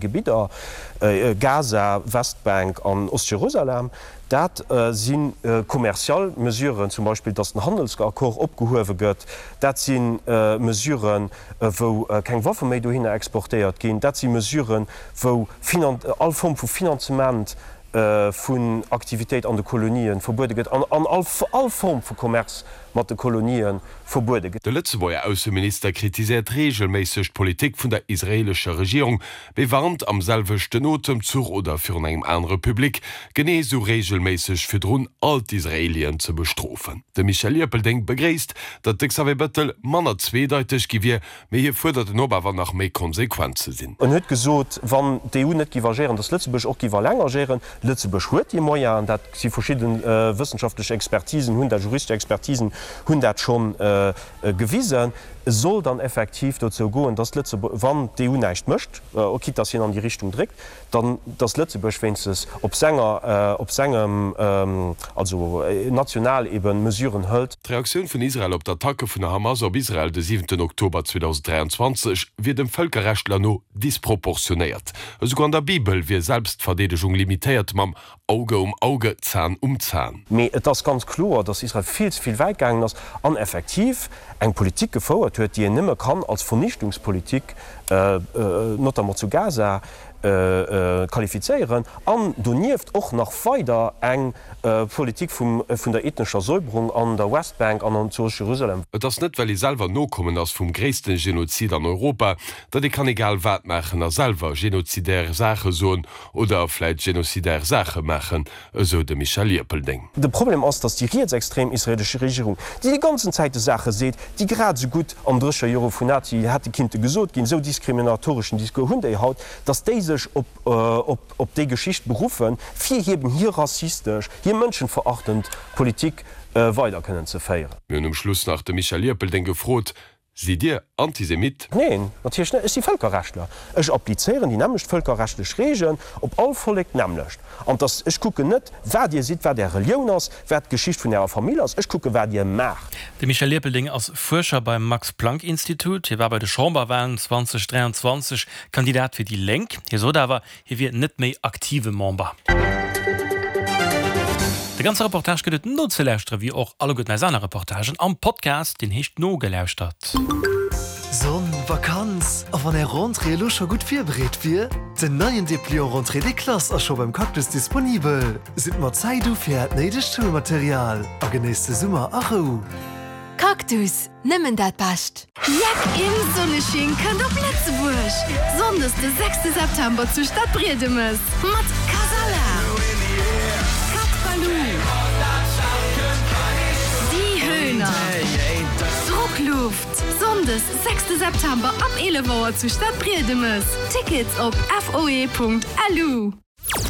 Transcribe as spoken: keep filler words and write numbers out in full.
Gebidder, Gaza, Westbänk an Ostjerusalem. Dat si kommerzial Mesuren, zum Beispill, datt den Handelsaccord opgehuewe gëtt. Dat si Mesuren, wou keng Waffe méi dohinner exportéiert ginn. Dat si Mesuren, wou all Form vu Finanzement vun Aktivitéit an de Kolonien verbuede gëtt an all Form vu Commerce mat de Kolonien verbuede gëtt. De Lëtzebuerger Ausseminister kritiséiert reegelméisseg d'Politik vun der israeelescher Regierung, mee warnt am selwechten Otemzuch oder virun engem anere Public genee esou reegelméisseg virdrun, all d'Israeelien ze bestrofen. De Michel Ierpeldeng begréisst, datt de Xavier Bettel manner zweedeiteg gi wier, mee hie fuerdert en op, awer nach méi konsequent ze sinn. En huet gesot, wann d'EU net géif agéieren, datt Lëtzebuerg och géif alleng agéieren. Lëtzebuerg huet déi Moyenen, dat si verschidde wëssenschaftlech Expertisen hunn dat, juristesch Expertisen hunn dat scho gewisen. Et soll dann effektiv dozou goen, datt Lëtzebuerg, wann d'EU näischt mécht, quitte datt hien an déi Richtung dréckt, dann datt Lëtzebuerg wéinstens op senger, op sengem, also national eben Mesuren hëlt. D'Reaktioun vun Israel op d'Attacke vun der Hamas op Israel de siwenten Oktober zweedausend dräianzwanzeg wier dem Vëlkerrechtler no disproportionéiert. Esouguer an der Bibel wier Selbstverdeedegung limitéiert mam Auge um Auge, Zahn um Zahn. Mee et ass ganz kloer, datt Israel vill ze vill wäit gaangen ass an effektiv eng Politik gefouert huet, déi een nëmme kann als Vernichtungspolitik, notamment zu Gaza, qualifizéieren an donieft och nach weider eng Politik vun der ethnescher Säuberung an der Westbank an zu Jerusalem. Et ass net well ee selwer Nokommen ass vum gréissten Genozid an Europa, datt ee kann egal wat maachen a selwer genozidär Saache soen oder vläit genozidär Saache maachen, esou de Michel Ierpeldeng. De Problem ass, datt déi rietsextrem israelesch Regierung, déi déi ganzen Zäite Saache seet, déi grad esou gutt an drécher Jore vun Nazi hätte kinnte gesot ginn, esou diskriminatoreschen Discours hunn déi haut, datt déi sech op déi Geschicht beruffen, fir eben hir rassistesch, hir mënschenverachtend Politik weider kënnen ze féieren. Mir hunn um Schluss nach de Michel Ierpeldeng gefrot, Sidd Dir Antisemit? Neen, natierlech net. Ech si Vëlkerrechtler. Ech applizéieren déi nämmlecht vëlkerrechtlech Regeln op all Vollek d'nämmlecht. An dass, ech kucken net, wat Dir sidd, wat Är Relioun ass, wat d'Geschicht vun Ärer Famill ass, ech kucken, wat Dir maacht. De Michel Ierpeldeng ass Fuerscher beim Max-Planck-Institut. Hie war bei de Chamberwalen zweedausend dräianzwanzeg Kandidat fir déi Lénk. Hie sot awer, hie wier net méi aktive Member. De ganze Reportage gëtt et nozelauschteren, wéi och alleguerten eis aner Reportagen, am Podcast, deen heescht Nogelauschtert. Sonn, Vakanz a wann är Rentrée elo scho gutt virbereet wier? Den neien Depliant Rentrée des classes ass scho beim Cactus disponibel. Sidd mat Zäit u fir äert néidegt Schoulmaterial a genéisst de Summer a Rou. Cactus, nëmmen dat Bescht! Jeck im Sonnesching kënnt op Lëtzebuerg! Sonndes de sechste September zu Stadbriedemes mat Kasala, Cat Ballou, Die Höhner, Druckluft. Sonndes sechste September ab eelef Auer zu Stadbriedemes. Tickets op foe Punkt lu.